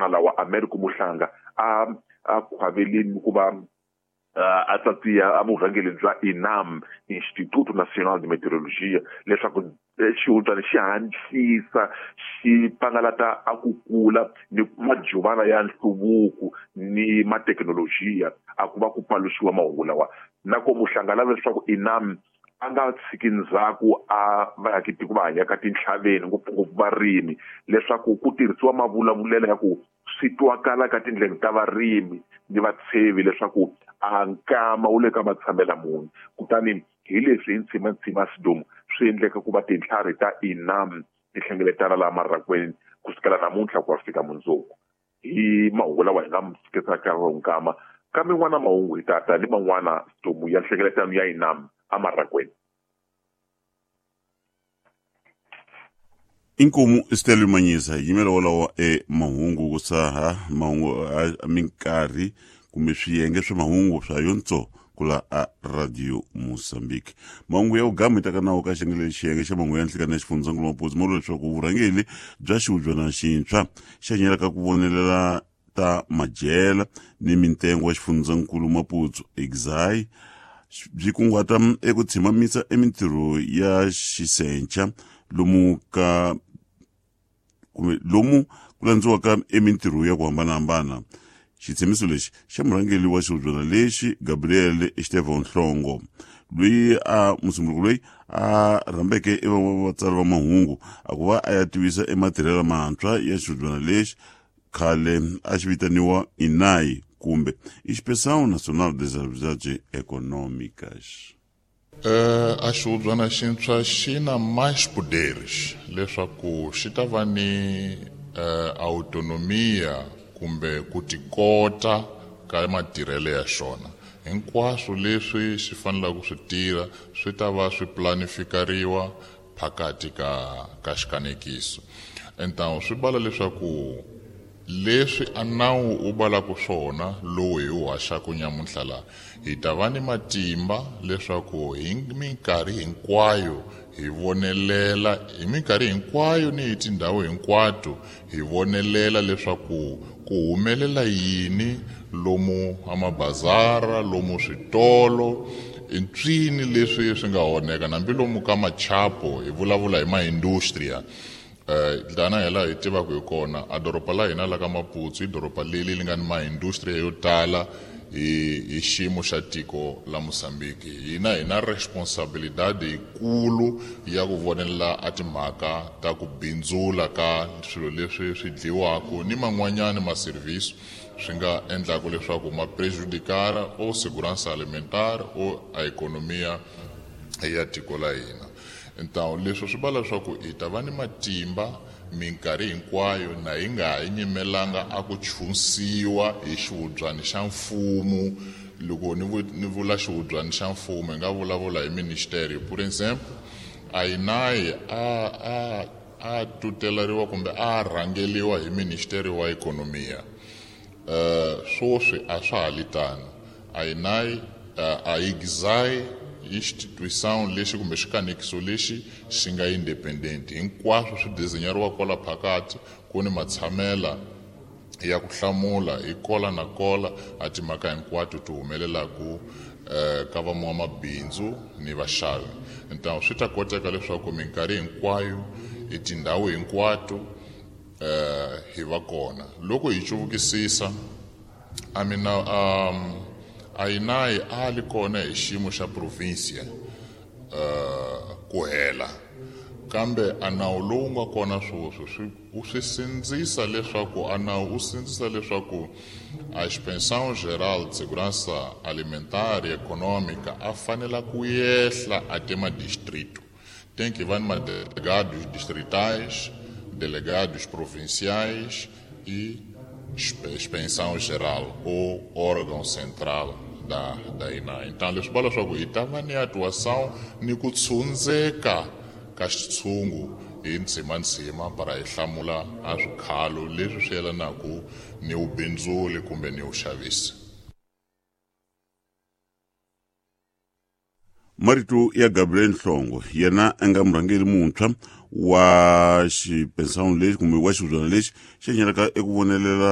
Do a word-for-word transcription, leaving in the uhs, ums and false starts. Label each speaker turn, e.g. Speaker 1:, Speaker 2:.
Speaker 1: Lawa Americo Muhlanga a a khwavelini ku va a tsatsiya a vurhangeri bya INAM, Instituto Nacional de Meteorologia, leswaku xihubyana xi hatlisa xi pangalata a ku kula ni majuvana ya nhluvuko ni mathekinolojiya a ku va ku paluxiwa mahungu lawa. Na ko Muhlanga lava leswaku INAM a nga tshiki ndzhaku a vaakitiko va hanyaka tintlhaveni, ngopfungopfu varimi, leswaku ku tirhisiwa mavulavulelo ya ku swi twakala ka tindleve ta varimi ni vatshevi leswaku a nkama wu le ka matshamela muni. Kutani hi leswi hi ntshimantsima Sidomu swi endleka ku va tintlhari ta INAM ti hlengeletana laha marakweni kusukela namuntlha ku ya fika mundzuku. Hi mahungu lawa hi nga mi fikisaka nkama kambe n'wana mahungu hi tata ni man'wana Sidomu ya nhlengeletano ya INAM amarakweni.
Speaker 2: Inkomu Stella Manyisa yimela wolawo e mahungu ku saha mahungu a minkarhi kumbe swiyenge swa mahungu swa yontso kula a Radio Mozambique. Mahungu ya ugama itaka nawo ka xiyenge xiyenge xa mahungu ya nhlikani ya xifundzankulu Maputo mo leswaku vurhangeri bya xihubyana xintshwa xa nyelaka ku vonelela ta madyela ni mintengo ya xifundzankulu Maputo Exai byi kunguhata eku tshimamisa emintirho ya xisenca lomu ka kumbe lomu ku landziwaka emintirho ya ku hambanahambana. Xitshembiso lexi xa murhangeri wa xihubyana lexi Gabriel Estevão Nhlongo, loyi a musunguri loyi a rhambeke evatsari va mahungu a ku va a ya tivisa ematirhelo mantshwa ya xihubyana lexi khale a xi vitaniwa INAI kumbe Inspeção Nacional das Atividades Econômicas.
Speaker 3: Uh, a xihubyana xintshwa xi na mais poderes leswaku xi ta va ni uh, autonomia kumbe ku tikota ka matirhelo ya xona. Hinkwaswo leswi xi fanelaka ku swi tirha swi ta va swi planifikariwa phakati ka ka xikanekiso. Então swi bala leswaku leswi a nawu u balaka swona lowu hi wu haxaka nyamuntlha laha, hi ta va ni matimba leswaku hi minkarhi hinkwayo hi vonelela hi minkarhi hinkwayo ni hi tindhawu hinkwato hi vonelela leswaku ku humelela yini lomu amabazara, lomu switolo, ntswini leswi swi nga onheka, hambi lomu ka machapo hi vulavula hi maindustria. Uh, tana hi laha hi tivaka hi kona a doroba la hina la ka Maputo i doroba leri li nga ni maindustria yo tala hi hi xiyimo xa tiko la Mozambique. Hina hi na responsabilidade yikulu ya ku vonelela a timhaka ta ku bindzula ka swilo leswi swi dliwaka ni man'wanyani ma-service swi nga endlaka leswaku ma prejudicare o segurança alimentar o a ekonomia ya tiko la hina. Então leswi swi vula leswaku hi ta va ni matimba minkarhi hinkwayo na hi nga ha nyimelanga a ku chunsiwa hi xihubyana xa mfumo. Loko ni ni vula xihubyana xa mfumo hi nga vulavula hi ministério. Por exemplo, a INAI a a a tutelariwa kumbe a rhangeliwa hi ministério wa ekonomia. Uh, swoswi a swa ha li tano. A INAI a IGZAI instituição lexi kumbe xikanekiso lexi xi nga independent, hinkwaswo swi desenhariwa kwala phakathi, ku ni matshamela ya ku hlamula hi kola na kola a timhaka hinkwato ti humelelaku eh, ka van'wamabindzu ni vaxavi. Então swi ta koteka leswaku minkarhi hinkwayo hi tindhawu hinkwato eh, hi va kona. Loko hi cuvukisisa a mina um, a INAI a li kona hi xiyimo xa provincia uh, ku hela, kambe a nawu lowu nga kona sweswi swi u swi sindzisa leswaku a nawu u sindzisa leswaku a Inspeção Geral de Segurança Alimentar e Econômica a fanela ku yehla até madistrito. Tem que va ni madelegados distritais, delegados provinciais e Inspeção Geral ou órgão central da da INAI. Então leswi vula leswaku hi ta va ni atuação ni ku tshundzeka ka xitshungu hi ndzimandzima para hi hlamula a swikhalo leswi swi yelanaka ni vubindzuli kumbe ni vuxavisi.
Speaker 2: Marito ya Gabriel Nhlongo, yena a nga murhangeri muntshwa wa xipensano lexi kumbe wa xihubyana lexi xi nyelaka eku vonelela